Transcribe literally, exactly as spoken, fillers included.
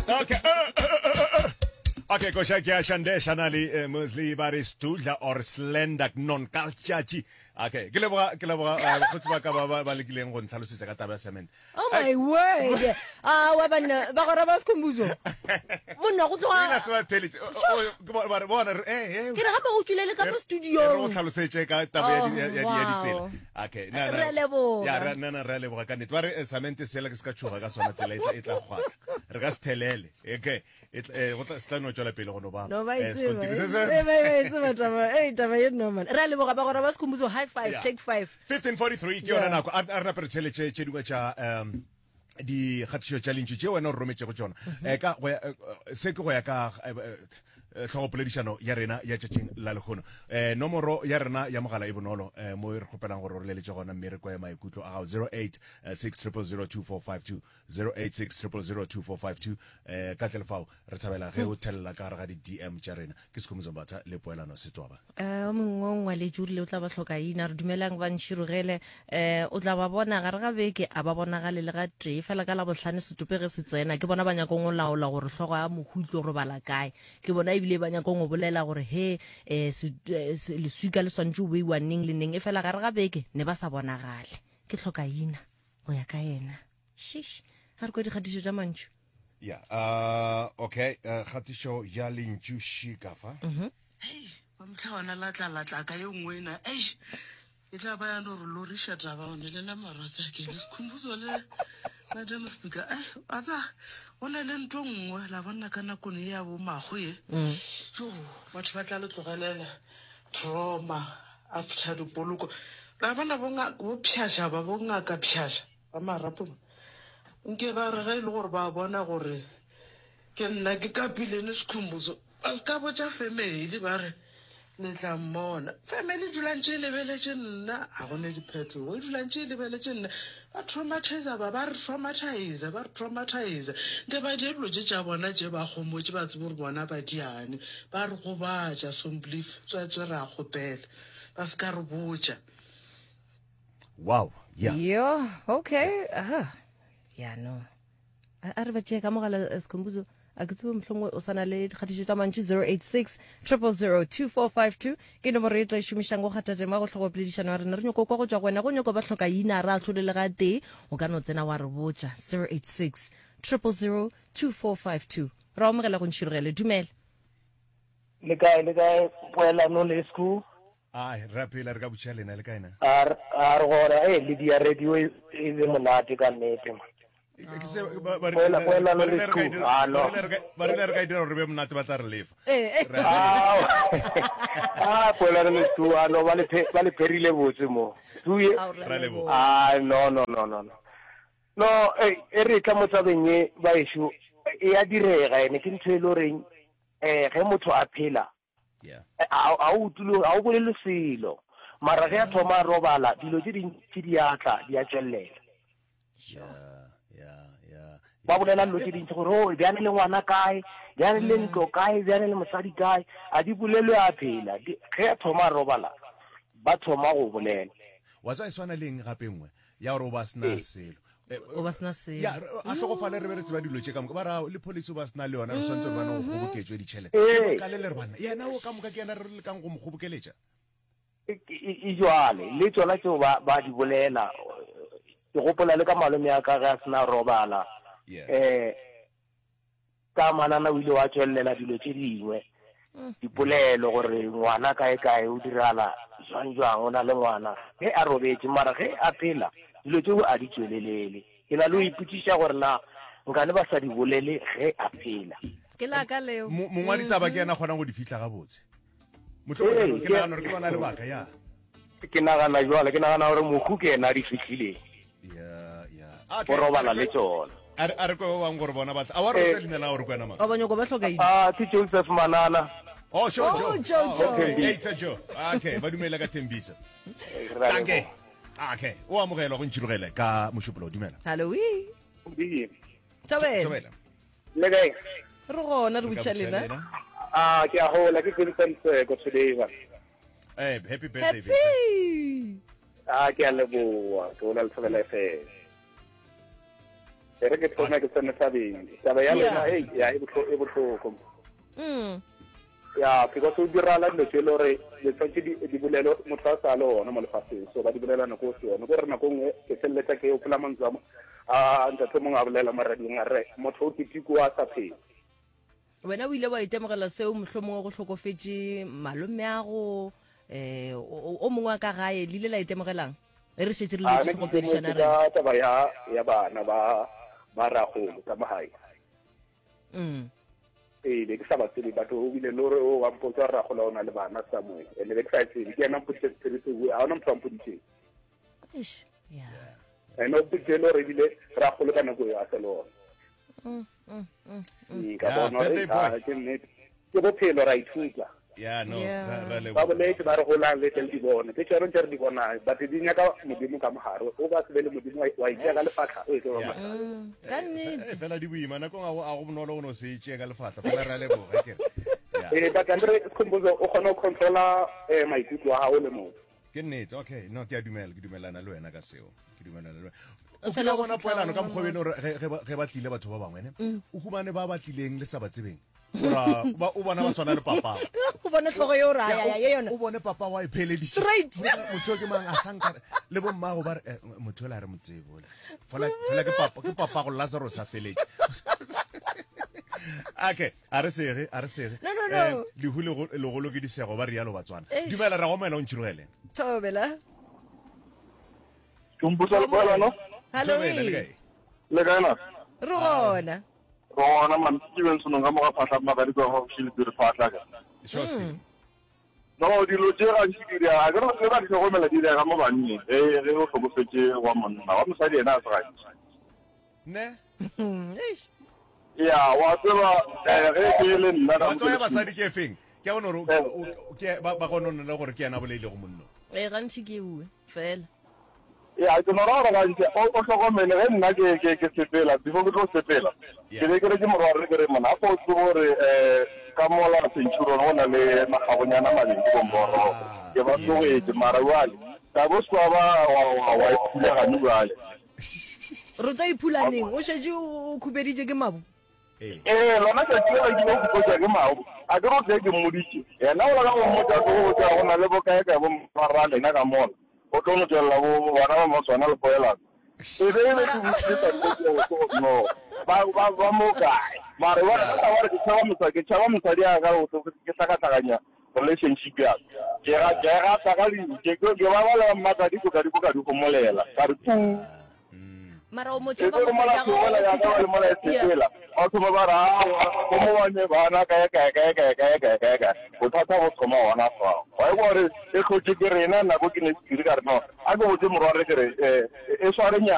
Okay. Uh, uh, uh, uh. Okay, koša ke ya Shande Shanali eh, Musli ba re Studla or Slender non kaltšatši. Okay, ke leboga ke leboga eh, bakgotsi ba ka ba ba ba lekileng go ntlhalosetša ka taba ya cement. Oh my word. Ah, wa banna, ba gora ba Skhumbuzo. Monna go Ina tloga. se ba theletše. O- o- ke bo- ba re bona re eh eh Ke re gape o tswile le ka mo e re go studio. tlhalosetše ka taba ya di- ya- ya di- ya Oh, ditsela. wow. Okay, na Re a leboga. Ya re na na re a leboga ka nnete. Ba re eh, cement sela ke se ka tšhoga ka sona tsela e tla e tla kgwatla. Re ka se thelele. Okay. E tla- eh, go tla se tla no tšwela pele go no ba. No ba eh, e tseba. sekontiri se se- Eh, ba e tseba taba. Eh, taba ye no man. Re a leboga ba gora ba Skhumbuzo high five, Yeah. take five. fifteen forty-three ke yona Yeah. nako a a re nape re theletše tše dingwe tša um dikgatišo tša lentšu tše wena o re rometšego tšona. Eh, ka go ya eh, se ke go ya ka eh, eh, tlhogopoledišano ya rena ya tšatšing la lehono. um nomoro ya rena ya mogala e bonolo um mo e re kgopelang gore o re leletše gona mme re kwe maikutlo a gago zero eight six triple zero two four five two, zero eight six triple zero two four five two. um ka tle le fao re thabela ge o thelela ka gare ga di-D M tša rena. Ke Sekhumbuzo Mbatha le Poelano Setwaba. Eh, o mongwe o ngwaletše o rile o tla ba hloka ina, re dumelang ba ntšhirogele. Eh, o tla ba bona gare ga beke a ba bonagale le ga tee fela ka la bohlano setope ge se tsena ke bona ba nyakong go laola gore hlogo ya mohu e tlo robala kae. Ke bona ebile ba nyakong go bolela gore he eh, se, eh, se, leswika le swantše o beiwa neng le neng, e fela gare ga beke ne ba sa bonagale. Ke hloka ina go ya ka yena. Shish, ga re kwe dikgatišo tša mantšu. Ya, uh, okay, uh, kgatišo ya lentšu šika fa. Mhm. Hei, ba motlhawana la tla la tla ka ye nngwe ena. Ei, e tla ba ya no re loriša taba one le la marwatsi a kene. Sekhumbuzo le Madam Speaker. Ei, a tsa, go na le ntho nngwe la bona ka nakong e ya bo mago ye. Jo, batho ba tla le tlogelela trauma after dipoloko. La bona bo nga-, bo pšhaša ba, bo ngaka pšhaša ba marapo ba. Nke ba re ge e le gore ba bona gore ke nna ke kapilene Sekhumbuzo, ba se ka botša family ba re le tla mmona. Family e dula ntše e lebeletše nna, ga gone diphetogo, e dula ntše e lebeletše nna. Ba traumatizer ba, ba re traumatizer, ba re traumatizer. Nke ba die dilo tše tša bona tše ba gomotše, ba tsebe gore bona ba diane. Ba re gobatša, Somblief, tswetswe re a kgopela. Ba se ka re botša. Wow, yeah. Yo, okay. Aha. Yeah, no. A a re ba tšee ka mogala, eh, Sekhumbuzo. A ke tsebe mohlomongwe o sa na le dikgatišo tša mantšu zero eight six triple zero two four five two ke nomoro e tla e šomišang go kgatha tema go tlhogopoledišano ya rena. Re nyoko kwa go tšwa go wena, go nyoko ba hloka ina re ahlole le ga tee, o ka no tsena wa re botša zero eight six triple zero two four five two. Re amogela go ntšhirogele. Dumela. Le kae, le kae, Poelano le Sku? Ai, re a phela, re ka botšiša lena, le kae na? A re, a re gona, eh, le dia radio e, e be monate ka nnete, man. Ke se, ba, ba Poela, rile, Poelano ba le rile re ka e Sku. dira, Ah, no. ba rile re ka, ba rile re ka e dira gore re be monate, ba tla re lefa. Eh, eh. Re a lefa. Ah, Poelano le Sku, ah, no, ba le phe-, ba le pherile botse mo. Sku ye. Ao, re a Re a leboga. leboga. Ah, no, no, no, no, no. No, eh, e re tla mo tabeng ye, baešo, e a direga ene, ke ntho e le goreng, eh, ge motho a phela, Yeah. a, a o utlwile, a o bolele selo. Mara ge a thoma a robala, dilo tše dintši di a tla, di a tšwelela. Yeah, yeah, yeah. Ba bolela dilo tše dintši gore, oh, bjale le ngwana kae, bjale le ntlo kae, bjale le mosadi kae, a di bolelwe a phela. Di, ge a thoma a robala, ba thoma go bolela. Wa tswa e swana le eng gape nngwe ya gore o ba sena Ee. selo. Eh, O ba sena selo. Ya, re, a hlokofale re be re tseba dilo tše ka moka. Ba ra le policy o ba sena le yona, re swantse re bane go kgoboketšwe ditšhelete. Ee. Ka le le re bana, yena o ka moka ke yena re lekang go mo kgobokeletša. E, e, e jwale, le tšona tšeo ba, ba di bolela. Ke gopola le ka malome ya ka ge a sena robala. Yeah. Eh, ka manana o ile wa tšwelela dilo tše dingwe. Dipolelo gore ngwana kae kae o dirala jwang jwang, o na le ngwana. Ge a robetše, mara ge a phela, dilo tšeo a di tšwelelele. Ke na le go ipotšiša gore na nkane ba sa di bolele ge a phela. Ke la ka leo. Mo-, mongwe wa ditaba ke yena a kgonang go di fihla gabotse. Mohlomongwe Ee, ke ke- nagana gore ke lona lebaka, ya. Ke nagana jwale, ke nagana gore mohu ke yena a di fihlileng. Ya, ya. Okay. O robala le tšona. A re, a re kwe ba bangwe gore bona ba tla. A wa re Eh. botsa leina la gore ke wena mang? O ba nyoko ba hloka eng? Ah, ke Joseph Manana. Oh, sure, Oh, Joe. Joe, Oh, Joe. okay. Hey, it's a Joe. Okay, ba dumela ka Tembisa. Re a Danke. leboga. Okay, o amogelwa go ntšhirogele ka Mošupologo. Dumela. Hello, wee. Di. Thobela. Thobela. Le kae? Re gona, re Re ka botša botša lena. lena. Ah, ke a gola, ke Vincent Seko today, ba. Eh, happy birthday, Vincent. Happy. Ah, ke a leboga, ke gola le Thobela F M. E re ke thome ke tsene tabeng. Taba ya lena ei ya e bohloko e bohloko. Mm. Ya because o dirala dilo tše e le gore le tshwanetse di di bolelo motho a sa le gona mo lefaseng so ba di bolela nako o se yone. Ko re nako nngwe ke feleletša ke gopola mantswe a mo a ntate mongwe a bolela mo radiong a re motho o ketekwa a sa phela. Wena o ile wa itemogela seo mohlomongwe go hlokofetše malomeago eh o o mongwe wa ka gae le ile la itemogelang e re šetše re A lebetše ne ke tlhogopoledišano itemotse ya rena ka taba ya ya bana ba ba ragolo ka mo gae. Mm. Ee, be ke sa ba tsebe batho o bile le gore o wa mpotsa gore ragola o na le bana somewhere and be ke sa e tsebe ke yena mpoditše sephiri seo ga ona motho wa mpoditšeng Eish, yeah. and o mpoditše le gore ebile ragolo ka nako eo a se le ona Mm, mm, mm, mm. Mm, ka Yeah, bona gore birthday boy. ah, ke nnete ke bophelo ra ithuta ya no Yeah. ra ra ba leboga boletse ba re golang le tle le di bone ke tsone tse re di bonang but di nyaka modimo ka mogare o ka se be le modimo wa wa itšea ka lefatlha o e tlo ba Yeah. mathata Mm, ka Eh, nnete fela di boima nako ga go a go bonolo go no se itšee ka lefatla fela re a leboga ke re ya ee but andre Skhumbuzo o kgone go controla um maikutlo a gago le motho ke nnete okay no ke a dumela ke dumelana le wena ka seo ke dumelana le wena o Fela kile wa go bona fihla poelano ka o- mokgwa bene gore ge- ge ba- ge ba tlile batho ba bangwe ne o humane ba ba tlileng le sa ba tsebeng ora ba o bona ba swana le papa o bone hlogo yeo ra ya ya ye yona o bone papa wa e pheleditše Straight. motho ke mang a sanka le bo mmago ba re eh, motho ola re mo tsebe ole fela fela ke papa ke papa go Lazarus a feletše okay a re sege a re sege No, no, no. Eh, lehu lego- legolo ke disego ba rialo batswana Eish. dumela ra go moela o ntšhirogele thobela Tumbusa le poelano hallo Thobela, le ee. kae le kae na re gona re gona man Steven Senong ka moga phahla magadi kwa gaufi le pere phahla ka sure Steve. no dilo tše gantši di dira ke re le ba di hlokomela di dira ka mo banneng ge ge o hlokofetše wa monna wa mosadi yena a se gantši ne Mm, eish. ya wa tseba eh, ge ke le nna ka wa tseba ya mo ke le basadi ke efeng ke a bona gore o- o- ke ba ba gononela gore ke yena a bolaile go monno ee gantši ke ewe fela ya ke no ra gore gantši o o hlokomele ge nna ke ke ke sepela before ke tlo sepela Yeah. ke be ke re ke morwa re ke re mona a o tsebe gore um ka mola Centurion go na le magabonyana mabedi bomboro Ah, ke ba yeah. tlogetše mara jwale ka bo se wa ba wa- wa wa iphulagane jwale re tlo iphulaneng o šetše o khupeditše ke mabu ee ee lona tšatši lela ke ile go ke mabu a ke re o tle ke mmoditše yena ola ka go mmotsa ke go botsa go na le bokaekae bo marra lena ka mola o tlo no tswelela bo bana ba maswana le poelano e be e be ke botsile tate no ba ba ba mo kae mara ba ba ba re ke tšhaba mosadi ke tšhaba mosadi a ka go ke hlakahlakanya relationship ya ka ke ga ke gata ka di ke ke ke ba ba le mmatla di ka di ka di gomolela ka re tu mara o mo e tšhaba be re mola mosadi tlogela ya ka le mola e sepela ba thoma ba re aowa go mo bane bana kae kae kae kae kae kae kae kae bothata bo thoma gona fao wa e gore e hlotše ke rena nako ke ne sephiri ka re no a ke botse morwa re ke re um e sware nyana